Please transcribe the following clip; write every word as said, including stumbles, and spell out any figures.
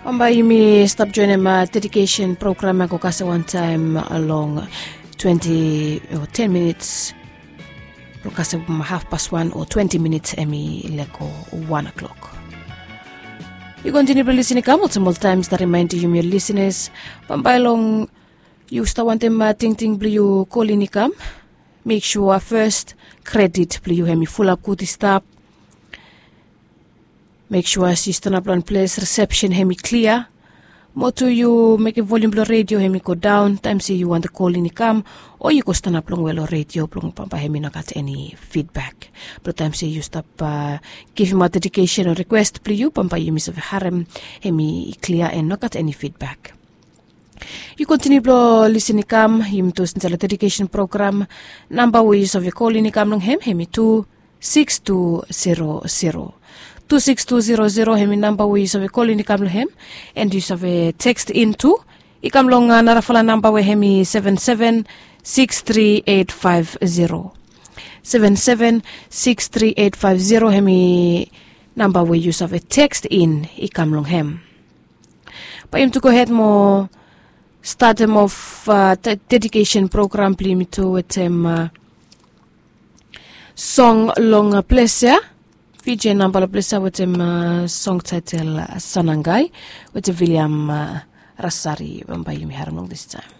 Bambae yumi stap joenem dedikesen program ya go kasem wantaem long twenti o ten minits blong kasem hafpas wan o twenti minits em i lego wan klok. Yu kontiniu blong lisin i kam olsem oltaem stap rimaendi yumi ol lisinas, bambae long yu stap wantem tingting blong yu kolin i kam, mek sua fes kredit blong yu hem i fulap gud i stap. Mek sua as yu stanap long wan ples risepsen hem i klia, mo tu yu mekem volium blong redio hem i go daon taem se yu wantem kolin i kam, o yu go stanap longwe long redio blong bambae hem i no gat eni fidbak. Blong taem se yu stap givimaot dedikesen o rikwes blong yu bambae yumi save harem hem i klia en no gat eni fidbak. Yu kontiniu blong lisin i kam, yumi tu sinsa long dedikesen program. Namba we yu save kolin i kam long hem hem i tu siks tu zero zero. Tu siks tu zero zero hem i namba we yu save kolin i kam long hem. En yu save tekst in tu i kam long narafala namba we hem i seven seven siks tri eit faef zero. Seven seven siks tri eit faef zero hem i namba we yu save tekst in i kam long hem. Bae yumi tu gohed mo statem of dedikesen program blong yumi tu wetem song long ples ya. Vije namba long ples ya wetem song taetel Sanangai wetem Viliam Rasari. Bambae yumi harem long distaem.